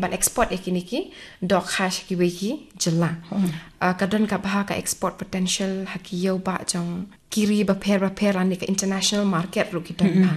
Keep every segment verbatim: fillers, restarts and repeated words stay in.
ban export ïa kine ki dohkha sha kiwei ki jylla. Ah, ka don ka bha ka export potential ha ki ïew ba jong ki ri bapher bapher lane ka international market ruh ki don bha.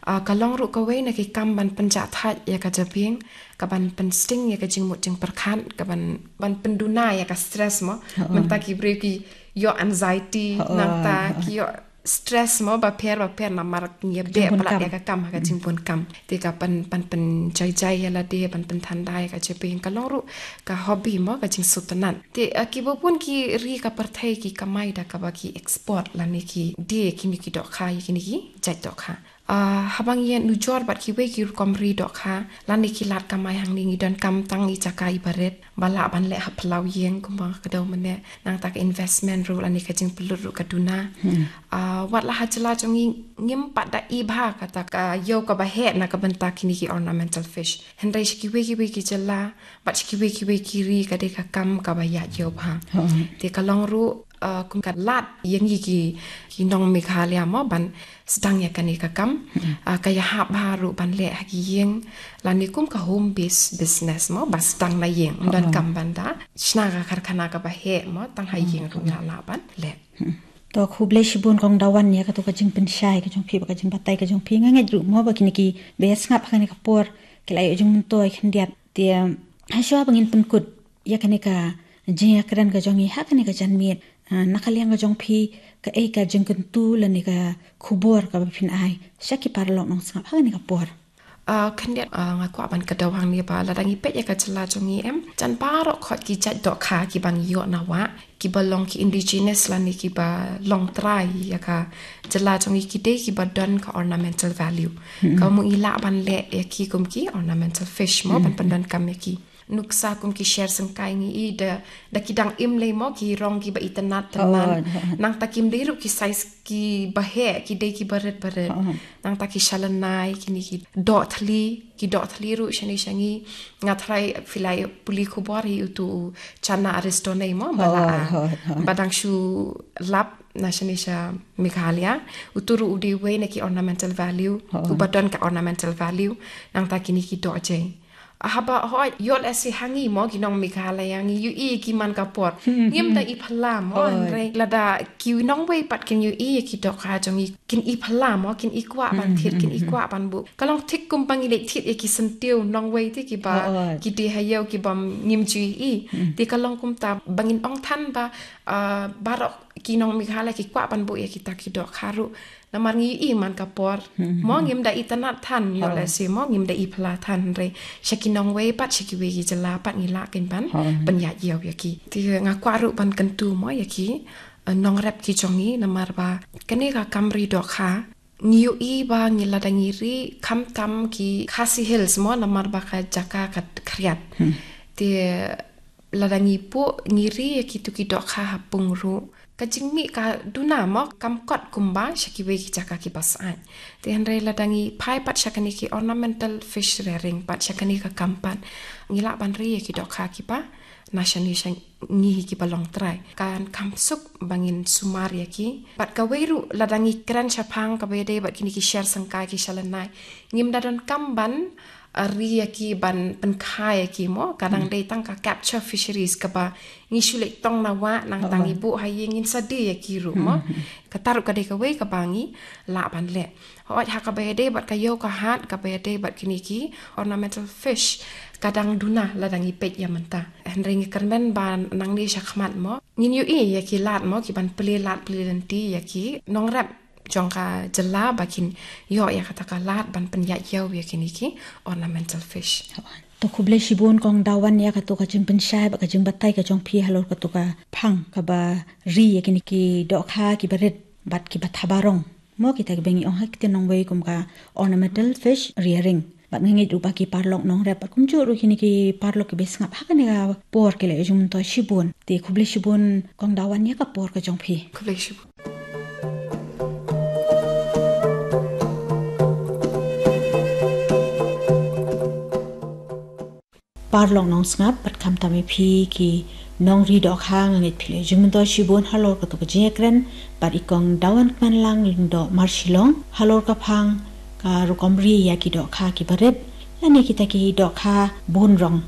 Ah, ka long ruh kawei na ki kam ban pynjah thait ïa ka jabieng, ka ban pynsting ïa ka jingmut jingpyrkhat, ka ban, ban pynduna ïa ka stress mo. Mynta ki briew ki ïoh anxiety, nangta ki ïoh stress mo bapher bapher namar ngi ïa beh palat ïa ka kam ha ka jingbun kam. Te ka ban, ban pynjai jai ïa lade, ban pynthanda ïa ka jabieng, ka long ruh ka hobby mo, ka jingsngewtynnat. Te, ah, kiba bun ki ri ka pyrthei ki kamai da kaba ki export lane ki die kine ki dohkha ïa kine ki jait dohkha. Ah, haba ngi ïa nujor bad kiwei ki rukom ri dohkha lane ki lad kamai hangne, ngi donkam tang i jaka iba rit ba lah ban leh ha phyllaw ïing kumba ka dei mynne, nangta ka investment ruh lane ka jingpynlut ruh ka duna. Ah, wat la ha jylla jong ngi ngim pat da i bha kata ka ïew kaba heh na ka bynta kine ki ornamental fish. Hynrei sha kiwei kiwei ki jylla bad sha kiwei kiwei ki ri ka dei ka kam kaba ïaid ïew bha. Te ka long ruh, ah, kum ka lad ïa ngi ki, ki nong Meghalaya mo ban sdang ïa kane ka kam. Ah, ka ïahap bha ruh ban leh ha ki ïing lane kum ka home based business mo, ba sdang na ïing, ym donkam ban da shna ka karkhana kaba heh mo, tang ha ïing ruh ngi lah ban leh. To khublei shibun Kong Dawan ïa kato ka jingpynshai ka jong phi bad ka jingbatai ka jong phi. Nga ngeit ruh mo ba kine kiba ïa sngap ha kane ka por ki la ïoh jingmyntoi khyndiat. Te, ah, hashwa ba ngin pynkut ïa kane ka jingïakren ka jong ngi ha kane ka janmiet, ah, na ka liang ka jong phi, kaei ka jingkyntu lane ka khubor kaba phin ai sha ki paralok nongsngap ha kane ka por? Ah, khyndiat, ah, nga kwah ban kdew hangne ba lada ngi peit ïa ka jylla jong ngi em, jan baroh khoit ki jait dohkha kiba ngi ïoh na wah, kiba long ki indigenous lane kiba long trai ïa ka jylla jong ngi, ki dei kiba don ka ornamental value. Ka mut ngi lah ban leh ïa ki kum ki ornamental fish mo, ban pyndonkam ïa ki. Nuksa kum ki sher syngkai ngi i da, da ki dang im lei mo, ki rong kiba itynnat tymmen. Nangta kim dei ruh ki size kiba heh, ki dei kiba rit ba rit. Nangta ki shalynai, kine ki doh thli, ki doh thli ruh shane sha ngi. Nga tharai phi la pule khubor hi utu u Channa Aristone mo, ba la, ba dang shu lap na shane sha Meghalaya. Utu ruh u dei uwei na ki ornamental value, uba don ka ornamental value. Nangta kine ki doh jai. Haba hooid, ïoh lehse ha ngi mo ki nong Meghalaya ngi ïohi ki man ka por. Ngim da i phylla mo, hynrei lada ki nongwei pat kin ïohi ki dohkha jong ngi, kin i phylla mo, kin i kwah ban thied, kin i kwah ban buh. Ka long thik kumba ngi leit thied ïa ki syntiew nongwei te kiba ki die ha ïew kiba ngim ju ïohi. Te ka long kumta ba ngin ong than ba, ah, baroh ki nong Meghalaya ki kwah ban buh ïa kita ki dohkha ruh. Namar ngi ïohi man ka por. Mo ngim da itynnat than, ïoh lehse mo ngim da i phylla than, hynrei sha ki nongwei pat, sha kiwei ki jylla pat ngi lah kein ban pynïaid ïew ïa ki. Te nga kwah ruh ban kyntu mo ïa ki, eh, nongrep ki jong ngi, namar ba kane ka kam ri dohkha ngi ïohi ba ngi lada ngi ri khamtam ki Khasi Hills mo, namar ba ka jaka ka khriat. Te lada ngi buh, ngi ri ïa kitu ki dohkha ha pung ruh, ka jingmih ka duna mo, kam kot kumba sha kiwei ki jaka kiba syaid. Te hynrei lada ngi phai pat sha kane ki ornamental fish rearing pat, sha kane ka kam pat, ngi lah ban ri ïa ki dohkha kiba na shane sha ngi hi kiba long trai. Kan kham suk ba ngin sumar ïa ki. Bad kawei ruh lada ngi kren shaphang kaba ïadei bad kine ki sher syngkai, ki shalynai, ngim da donkam ban, ah, ri ïa ki ban pynkha ïa ki mo, ka dang dei tang ka capture fisheries kaba ngi shu leit tong na wah, nangta ngi buh ha ïing, ngin sa die ïa ki ruh mo. Kata ruh ka dei kawei kaba ngi lah ban leh. Hooid, ha kaba ïadei bad ka ïew ka hat, kaba ïadei bad kine ki ornamental fish, ka dang duna lada ngi peit ïa mynta. Hynrei ngi kyrmen ba nangne shakhmat mo ngin ïohi ïa ki lad mo, ki ban plie lad plie lynti ïa ki nongrep jong ka jylla ba kin ïoh ïa kata ka lad ban pynïaid ïew ïa kine ki ornamental fish. To khublei shibun Kong Dawan ïa kato ka jingpynshai bad ka jingbatai ka jong phi halor kato ka phang kaba ri ïa kine ki dohkha kiba rit bad kiba thaba rong mo, kita kiba ngi ong ha ktien nongwei kum ka ornamental fish rearing. Bad nga ngeit ruh ba ki paralok nongrep bad kumjuh ruh kine ki paralok kiba sngap ha kane ka por ki la ïoh jingmyntoi shibun. Te khublei shibun Kong Dawan ïa ka por ka jong phi. Khublei shibun. Paralok nongsngap bad khamtam ïa phi ki nongri dohkha, nga ngeit phi la ïoh jingmyntoi shibun halor kato ka jingïakren bad i Kong Dawan Kmenlang Lyngdoh Marshillong halor ka phang ka rukom ri ïa ki dohkha kiba rit lane kita ki dohkha bun rong.